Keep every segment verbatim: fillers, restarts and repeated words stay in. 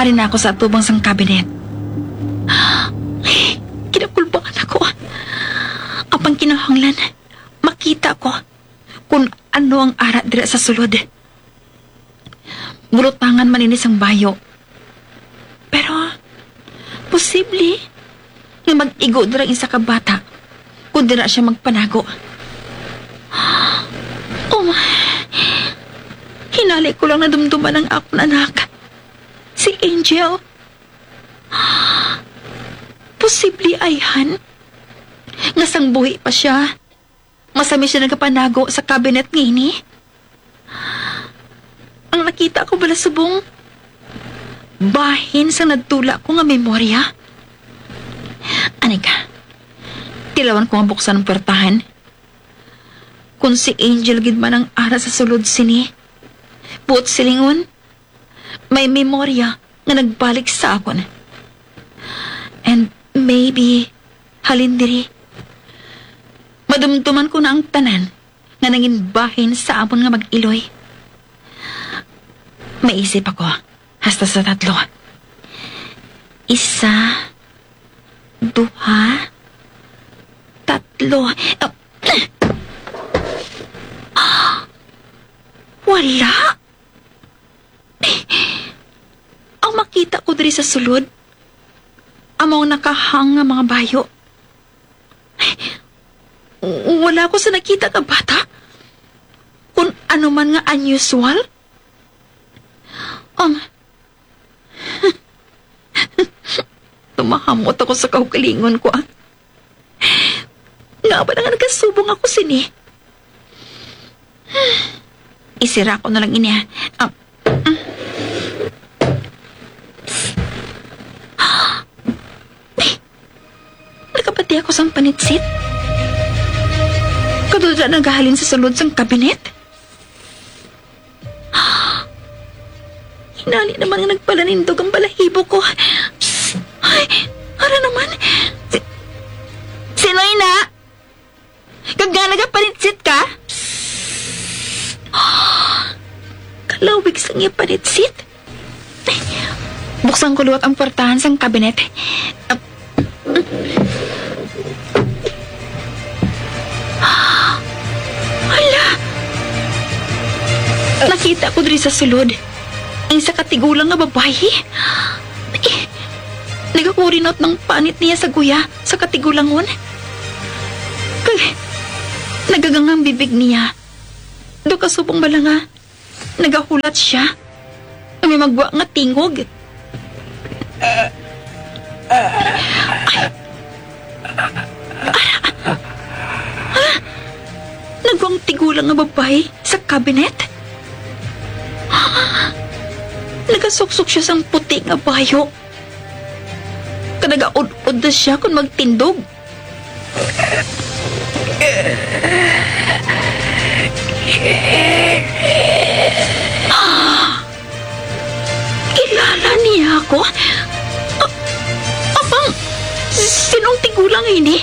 Rin ako sa atubang sang kabinet. Kinakulbaan ako. Apang kinahanglan, makita ko kung ano ang ara dira sa sulod. Bulotangan man ini sang bayo. Pero, posible nga mag-igo dira ang isa ka bata kung dira siya magpanago. Oh, hinali ko lang nadumduman ang akon anak, si Angel. Posible, ayhan, nga sang buhi pa siya, masami siya nagapanago sa kabinet nga ini. Ang nakita ko bala subong bahin sa nadtula ko nga memorya. Ani ka, tilawan ko nga buksan ang puwertahan. Kung si Angel gid man ang ara sa sulod sini, buot silingon, may memorya nga nagbalik sa akon. And maybe, halin diri, madumduman ko na ang tanan nga nangin bahin sa amon nga mag-iloy. Maisip ako, hasta sa tatlo. Isa, duha, tatlo. Ah, wala. Ang makita ko diri sa sulod, amo ang nakahang nga mga bayo. Wala ko sa nakita nga bata. Kung ano man nga unusual. Ang, tumahamot ako sa kaugalingon ko, ah. Nga ba nga nagkasubong ako sini? Isira ko na lang ini, ah. Ah, mm. Nakapati ako sang panitsit. Kadto dira nagahalin sa sulod sang kabinet. Hinali naman nga nagpalanindog ang balahibo ko. Psst! Ay, ara naman. Si-, sino ina? Kag nga nagapanitsit ka? Psst! Kalawig sang iya panitsit. Buksan ko liwat ang puwertahan sang kabinet. Ah, hala! Nakita ko diri sa sulod ang isa ka tigulang nga babayi. Eh, nagakurinot ng panit niya sa guya sa katigulangon. Kag nagagangang bibig niya. Daw kasubong bala nga nagahulat siya nga may magwa nga tingog. Ay. Ara. Ha? Nagwang tigulang nga babayi sa kabinet. Nagasuksok siya sang puti nga bayo. Kag nagaud-od na siya kon magtindog. Kilala niya ako? A-, apang, sinong tigulang ini?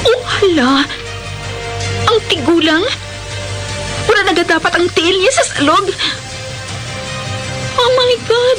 Oh, hala! Ang tigulang? Wala nagadapat ang tiil niya sa salog. Oh my God!